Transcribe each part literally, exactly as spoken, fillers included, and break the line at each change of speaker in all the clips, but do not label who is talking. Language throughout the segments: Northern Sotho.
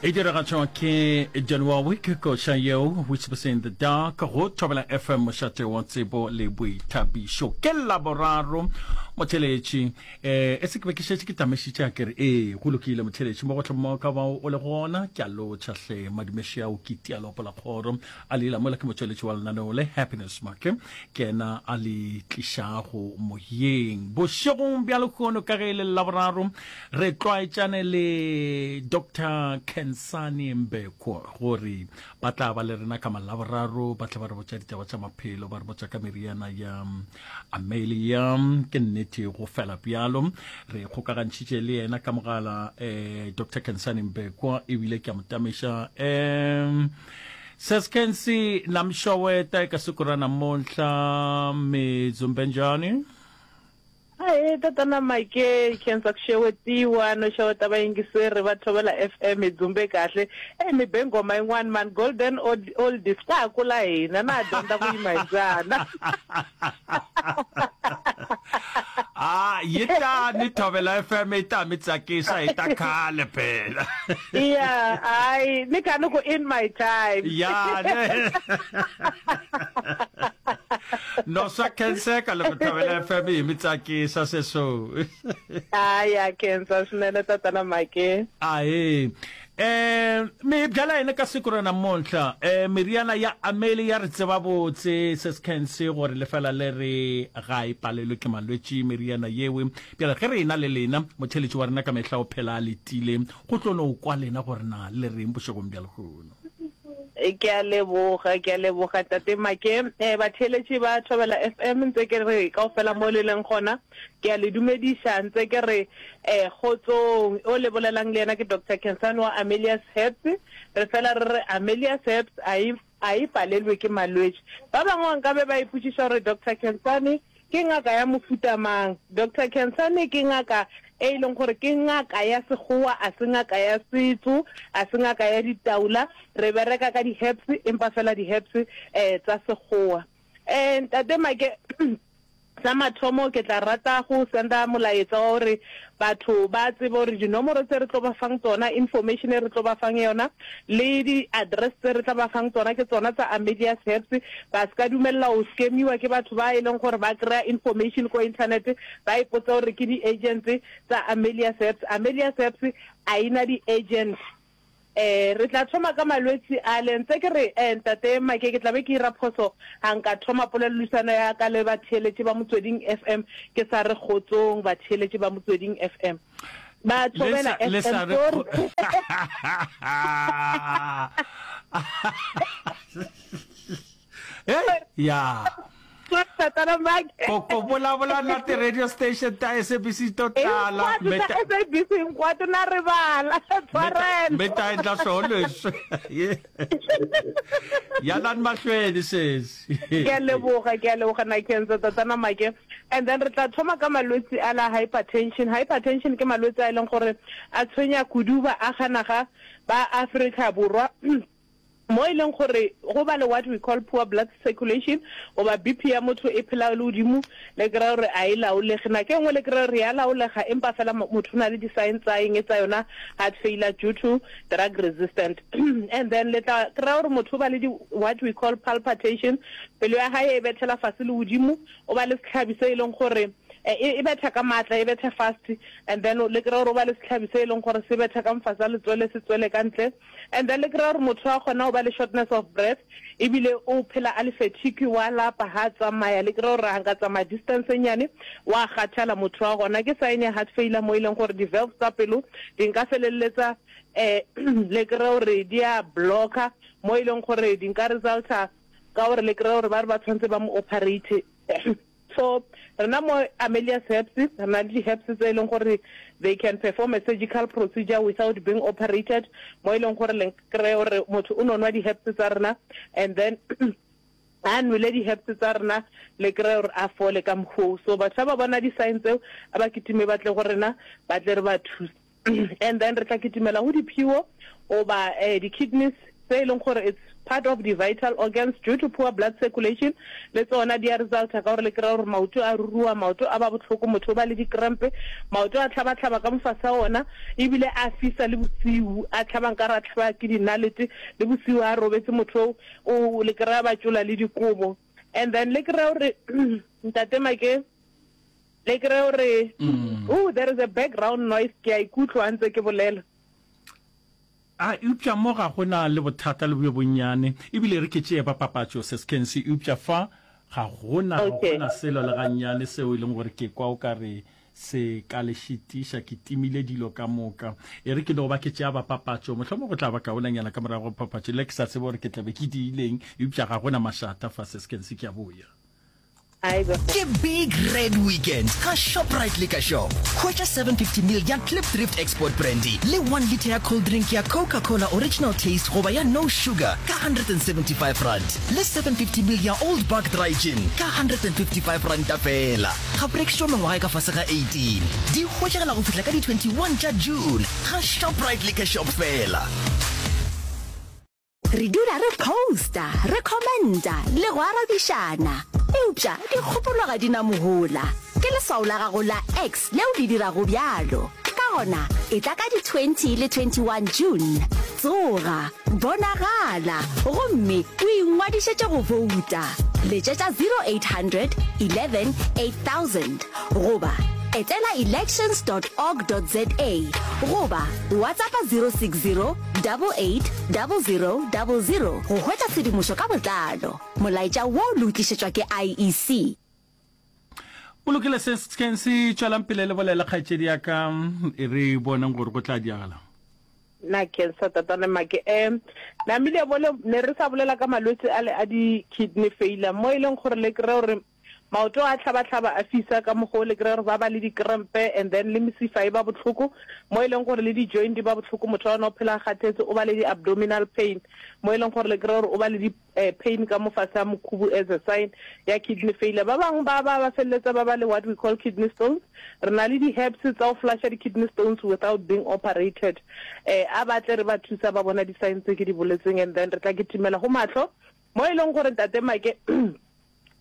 E diragatšwa ke Dionne Warwick, koša yeo Whispers in the Dark go Thobela F M, mošate wa tsebo le boithabišo. Ke Laboraro, motheletši. Eh, e se ke be ke šetše ke tamešitše a kere ee, go lokile, motheletši, mo gohle mo ka bao o le gona, ke a lotšha hle. Madumeši ao ke tialopo la kgoro a leila mola ke motšweletši wa lenaneo le Happiness Make, ke yena a le tlišago moyeng bošegong bja lehono. Ka ge e le Laboraro, re tlwaetšane le Doctor Kensani Mbeko gore ba tla ba le rena ka Malaboraro, ba tla ba re botša ditaba tša maphelo, ba re botša ka meriana ya Amelia. Ke nnete go fela bjalo re kgokagantšhitše le yena ka mogala, eh, Doctor Kensani Mbekwa, ebile ke a mo tamiša. um Seskensi namshoweta eka siku ra namuntlha, mi dzumbe njhani?
Ahee, tatana Make, khensa ku xewetiwa no xeweta vayingiseri va Thobela F M. Hi dzumbe kahle. E mi be nghoma yin'wani mani, Golden Old Oldies, ka ha kula hina na ha dyondza ku yima hi mbyana.
A yi tani Thobela F M yi ta mi tsakisa hi ta khale phela.
Ya, hayi ni kha ni ku in my time.
Ya ne, no swa khenseka loko Thobela F M yi mi tsakisa sweswo.
Hayi, ya khensa swinene, tatana Make.
Ahe, eh mi hi byela yini ka siku ra namuntlha? eh meriana ya Amelia re tseba botse sesekhensi gore le fela le re ga e palelwe ke malwetši meriana yewe. Bjale ge re ena le lena, motheletši wa rena ka mehla o phela a letile go tlo no kwa lena gore na le reng bošegong bja lehono.
Ke a leboga, ke a leboga, tate Make. um batheeletši ba Thobela F M, ntse ke re kaofela mo le leng gona, ke a le dumediša, ntse ke re um kgotsong. O le bolelang le yena ke Doctor Kensane wa Amelia's Herbs. Re fela re re Amelia's Herbs a e a e palelwe ke malwetši. Ba bangwe nkabe ba ipotšiša gore Doctor Kensane ke ngaka ya mofuta mang. Doctor Kensane ke ngaka e leng gore ke ngaka ya sekgowa, a se ngaka ya setso, a se ngaka ya ditaola. Re bereka ka di-herbs, empa fela di-herbs um tsa sekgowa. um ntate Make, sa mathomo ke tla rata go senda molaetsa wa gore batho ba tsebe gore dinomoro tse re tlo ba fang tsona, information e re tlo ba fang yona le di-address tse re tla ba fang tsona, ke tsona tsa Amelia's Herbs. Ba se ka dumelela go scamiwa ke batho ba e leng gore ba kry-a information ko internet, ba ipotsa gore ke di-agents tsa Amelia's Herbs. Amelia's Herbs a ena di-agent. um re tla thoma ka malwetši a le ntse ke re, um ntate Make, ke tla be ke ira phoso ga nka thoma polelodisano ya ka le batheeletši ba Motsweding F M ke sa re kgotsong, batheeletši ba Motsweding F M, ba Thobela
Le
F M.
Sa re
Sorry.
Hey, ya.
Tatana Make.
Ko ko vulavula na ti-radio station ta S A B C to tala.
Hinkwato ta S A B C, hinkwato na rivala, tshwarelo.
Mi ta endla swoho leswi yanani mahlweni sesi.
Ke a leboga, ke a leboga, na khensa, tatana Make. And then re tla thoma ka malwetsi a la hypertension. Hypertension ke malwetsi a e leng gore a tshwenya kudu ba aganaga ba Afrika Borwa, mo e leng gore go ba le what we call poor blood circulation, goba B P ya motho e phela le godimo, le kry gore a e laolege. Nako e nngwe le kry gore ya laolega, empa fela motho o na le di-sign tsa eng, tsa yona heart failure due to drug resistant. And then le tla kry gore motho o ba le di what we call palpitation, pelo ya hae e bethela fase le godimo, o ba le setlhabi se e leng gore e betha ka maatla, e betha fast. And then le kry gore o ba le setlhabi se e leng gore se betha ka mfasa letswele, se tswele ka ntle. And then le kry gore motho a kgona go ba le shortness of breath, ebile o phela a le fatigue, wa lapa ha tsamaya. Le kry gore ga nka tsamaya distance e nnyane wa kgathala motho wa gona. Ke sign ya heart failure, mo e leng gore di-valves tsa pelo di nka feleletsa um le kry gore di a blocka, mo e leng gore di nka resulta ka gore le kry gore ba re ba tshwanetse ba mo operate. So rena mo Amelia's Herbs re na le di-herbs tse e leng gore they can perform a surgical procedure without being operated, mo e leng gore le kry gore motho o no nwa di-herbs tsa rena, and then a nwele di-herbs tsa rena, le kry gore a fole ka mokgoo. So batho ba ba bona di-sign tseo, a ba kitime ba tle go rena, ba tle re ba thuse. And then re tla kitimela go diphio goba um di-kidneys tse e leng gore it's part of the vital organs due to poor blood circulation le tsona di a resulta ka gore le kry-a gore maoto a ruruwa maoto a ba bohloko motho o ba le dikrempe maoto a tlhabatlhaba ka mofase a ona ebile a fisa le bosiu a tlhaba nkare a tlhaba ke dinalete le bosiu a robetse motho o le kry-a ba tšola le dikobo and then le kry-a gore ntate Make le kry-a gore oh there is a background noise ke a ikutlwa ntse ke bolela.
A eupša mo ga go na le bothata le bjo bonnyane, ebile re ke tšee ba papatšo, Sis Kensi, eupša fa ga go na, ga go na selo le gannyane seo e leng gore ke kwa o ka re se ka le šitiša. Ke timile dilo ka moka. E re ke no ba ke tšea ba papatšo, mohlomongwe go tla ba kaonanyana ka morago ga papatšo, le ke sa tsebe gore ke tla be ke diileng, eupša ga go na mašata fa, Sis Kensi, ke a boya.
Ke Big Red Weekend ga Shoprite Liquor Shop. Hwetša seven fifty ml ya Klipdrift Export Brandy le one litre ya cold drink ya Coca-Cola Original Taste goba ya No Sugar ka hundred and seventy five rand le seven fifty ml ya Old Buck Dry Gin ka hundred and fifty five ranta feela. Ga go rekišwa mengwaga e ka fase ga eighteen. Di hwetšagala go fihla ka di twenty one tša June ga Shoprite Liquor Shop feela.
Re dula re posta, re commenta le go arabišana. Eupša dikgopolo ga di na mohola. Ke leswao la gago la X leo le dirago bjalo. Ka gona, etla ka di twenty le twenty one June. Tsoga, bonagala, gomme o ingwadišetše go bouta. Letšetša zero eight hundred eleven eight thousand goba etela elections dot org dot za goba WhatsAppa zero six zero double eight double zero double zero go hwetša tshedimošo ka botlalo. Molaetša wo le o tlišetšwa ke I E C.
Go lokile, se sekeng se tšwelang pele le bolele, kgaetšedi ya ka, e re boneng gore go tla diagala.
Nna cancer tatane make um namile bole ne re sa bolela ka malwetse a le a di kidney failure mo e leng gore le kry gore maoto a tlhabatlhaba a fisa ka mokgwa o le kry gore ba ba le dikrempe and then le mesifa e ba bohloko mo e leng gore le di-joint di ba bohloko motho wa ona o phela a kgathetse o ba le di-abdominal pain mo e leng gore le kry gore o ba le di eh, pain ka mo fase ga mokhubu as a sign ya kidney failure. Ba bangwe ba ba ba feleletsa ba ba le what we call kidney stones. Re na le di-herbs tsa go flusha di-kidney stones without being operated. Eh, a ba tle re ba thusa ba bona di-sign tse ke di boletseng and then re tla kitimela go mahlo mo e leng gore ntate Make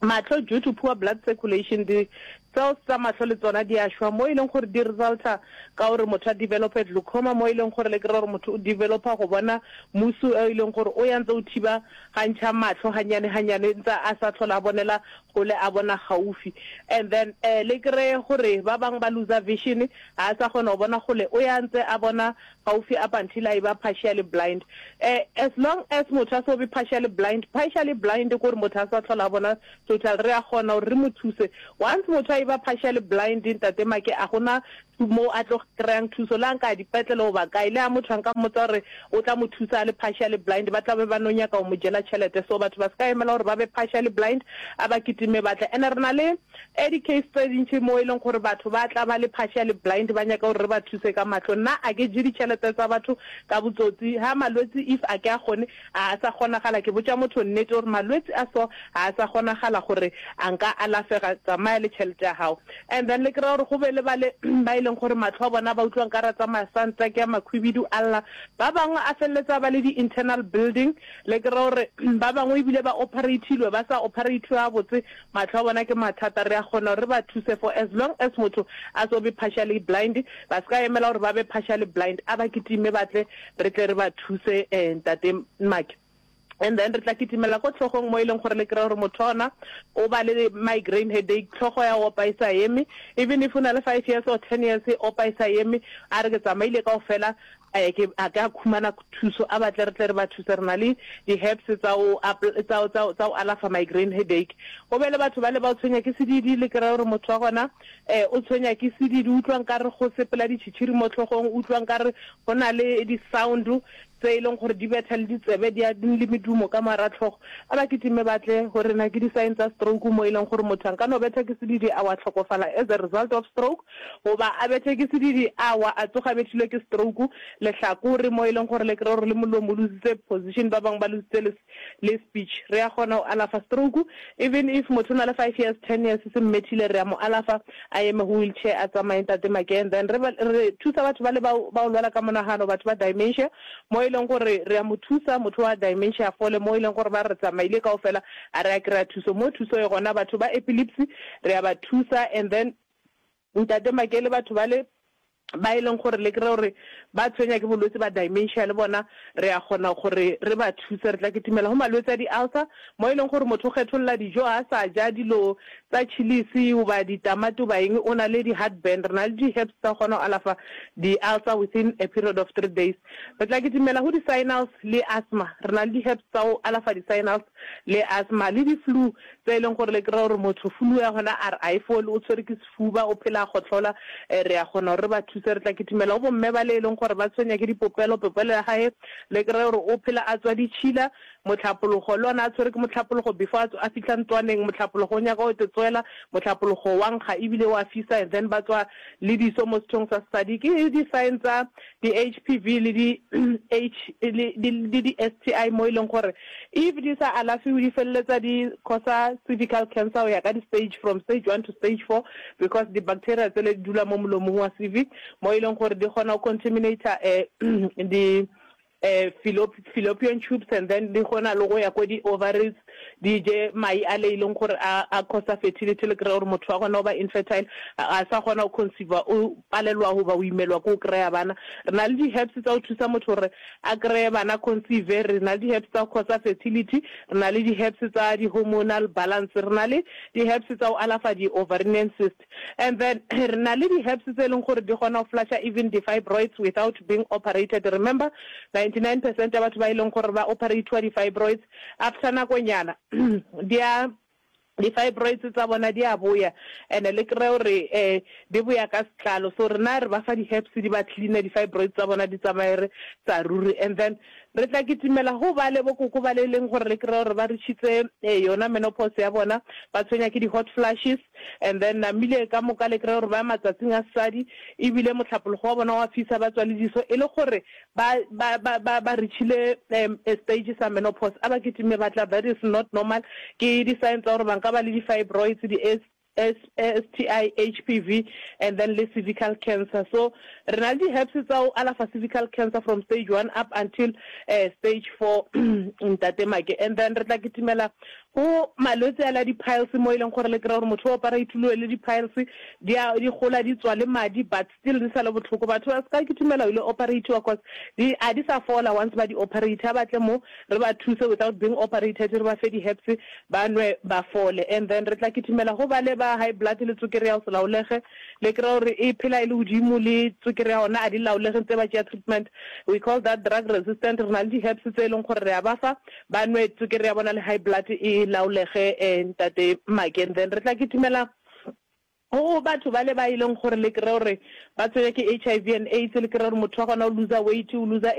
mahlo due to poor blood circulation di cells tsa mahlo le tsona di a šwa mo e leng gore di resulta ka gore motho a develope glaucoma mo e leng gore le kry gore motho o developa go bona musu e leng gore o ya ntse o thiba gantšha mahlo ganyane ganyane ntse a sa tlhola a bonela gole a bona gaufi and then eh le kry gore ba bangwe ba loser vision ga a sa kgona go bona gole o ya ntse a bona gaufi up until a e ba partially blind. Eh as long as motho a so be partially blind, partially blind ke gore motho a sa tlhola a bona total, re a kgona gore re mo thuse. Once motho a e ba partially blind ntate Make a gona mo a tlo kry-ang thuso le a nka dipetlele goba kae le a motho a nka mmotsa gore o tla mo thusa a le partially blind ba tla be ba no nyaka go mo jela tšhelete. So batho ba se ka emela gore ba be partially blind a ba kitime batle. And re na le eh di-case tse dintši mo e leng gore batho ba tla ba le partially blind ba nyaka gore re ba thuse ka mahlo. Nna a ke je ditšhelete tsa batho ka botsotsi ha malwetse if a ke a kgone a sa kgonagala ke botša motho nnete gore malwetse a so a sa kgonagala gore a nka alafega tsamaya le tšhelete ya gago. And then le kry-a gore go be le ba le ba e leng gore mahlo a bona ba utlwang ka ra tsamaya santa ke ya makhwibidu a lla ba bangwe a feleletsa ba le di-internal building le kry-a gore ba bangwe ebile ba operatilwe ba sa operatiwe gabotse mahlo a bona ke mathata. Re a kgona gore re ba thuse for as long as motho a so be partially blind ba se ka emela gore ba be partially blind a ba kitime batle re tle re ba thuse eh ntate Make. And then re tla kitimela ko tlhogong mo e leng gore le kry-a gore motho ona o ba le migraine headache tlhogo ya opa e sa eme even if o na le five years or ten years e opa e sa eme a re ke tsamaile kaofela eh ke a ka khumana thuso a batle re tle re ba thuse. Re na le di-herbs tsa o tsa tsa tsa o alafa migraine headache. Go be le batho ba le ba o tshwenya ke sedidi le kry-a gore motho wa gona eh o tshwenya ke sedidi utlwang ka re go sepela ditšhitšhiri mo tlhogong utlwang ka re go na le di-sound tse e leng gore di betha le ditsebe di a le medumo ka mara tlhogo a ba kitime batle gore na ke di-sign tsa stroke mo e leng gore motho a nka no betha ke sedidi a wa tlhokofala as a result of stroke goba a bethe ke sedidi a wa a tsoga bethilwe ke stroke lehlakore mo e leng gore le kry gore le molomo o lositse position ba bangwe ba lositse le, le speech. Re a kgona go alafa stroke even if motho o na le five years ten years se mmethile re a mo alafa a eme go wheelchair a tsamaye ntate Make. And then re, re thusa batho ba le ba o lwala ka monagano batho ba dementia mo e leng gore re a mo thusa motho wa dementia a fole, mo e leng gore ba re tsamaile kaofela a re a kry-a thuso. Mo thuso e gona, batho ba epilepsy re a ba thusa. And then Ntate Make, le batho bale ba e leng gore le kry-e gore ba tshwenya ke bolwetse ba dementia, le bona re a kgona gore re ba thuse. Re tla kitimela go malwetse a di-ulcer, mo e leng gore motho o kgetholla dijo, a sa ja dilo tsa chillies goba ditamati goba eng, o na le di-heartburn. Re na le di-herbs tsa kgona go alafa di-ulcer within a period of three days. Re tla kitimela go di-sinus le asthma. Re na le di-herbs tsa go alafa di-sinus le asthma le di-flu tse e leng gore le kry-a gore motho flu ya gona a re a e fole, o tshwere ke sefuba, o phela a gotlhola, re a kgona gore re ba thuse. Re tla kitimela go bomme ba le e leng gore ba tshwenya ke dipopelo, popelo ya gae le kry-a gore o phela a tswa ditšhila, motlhapologo le ona a tshwere ke motlhapologo before a fitlha ntlwaneng, motlhapologo o nyaka o tswela, motlhapologo wa nkga ebile wa fisa, and then ba tswa le diso mo sethong sa sesadi. Ke di-sign tsa di-H P V le di-H le di-S T I, mo e leng gore if di sa alafiwe di feleletsa di causa cervical cancer go ya ka di-stage, from stage one to stage four, because di-bacteria tsele di dula mo molomong wa cervix, mo e leng gore di kgona go contaminate um di eh fallopian tubes, and then di kgona le go ya ko di-ovaries, di je mai a le e leng gore a a causa fertility. Le kry gore motho wa gona o ba infertile, a sa kgona go conceive, o palelwa goba o imelwa ke o kry-a bana. Re na le di-herbs tsa go thusa motho gore a kry-e bana, conceive. Re na le di-herbs tsa go causa fertility, re na le di-herbs tsa di-hormonal balance, re na le di-herbs tsa go alafa di-ovarian cyst, and then re na le di-herbs tse e leng gore di kgona go flusha even di-fibroids without being operated. Remember, ninety-nine percent ya batho ba e leng gore ba operatiwa di-fibroids, after nakonyana di a di-fibroids tsa bona di a boya, and le kry gore um di boya ka setlalo. So rena re ba fa di-herbs, di ba cleana di-fibroids tsa bona, di tsamaye re tsa ruri. And then re tla kitimela go ba le bokoko ba le leng gore le kry gore ba reachitse yona menopause ya bona, ba tshwenya ke di-hot flashes, and then namile ka moka le kry gore ba matsatsing a sesadi, ebile motlhapologo wa bona wa fisa, ba tswa le diso, e le gore ba ba ba ba ba reachile um stage sa menopause. A ba kitime batla, that is not normal. Ke di-sign tsa gore ba nka ba le di-fibroids, di S S T I, H P V, and then le cervical cancer. So re na le di-herbs tsa go alafa cervical cancer from stage one up until uh, stage four, Ntate Make. And then re tla kitimela go malwetse a la di-piles, mo e leng gore le kry gore motho o operatilwe le di-piles di a di gola, di tswa le madi, but still di sa le botlhoko. Batho ba se ka kitimela ile operatiwa, cause di a di sa fola once ba di operate. A batle mo re ba thuse without being operated, re ba fe di-herbs, ba nwe, ba fole. And then re tla kitimela go ba le ba high blood le tswekere ya go se laolege, le kry gore e phela e le godimo, le tswekere ya gona a di laolege ntse ba tšea treatment. We call that drug resistant. Re na le di-herbs tse e leng gore re a ba fa, ba nwe, tswekere ya bona le high blood e laolege, um ntate Make. And then re tla kitimela go batho ba le ba e leng gore le kry gore ba tshwenya ke H I V and AIDS, le kry gore motho wa gona o loser weight, o loser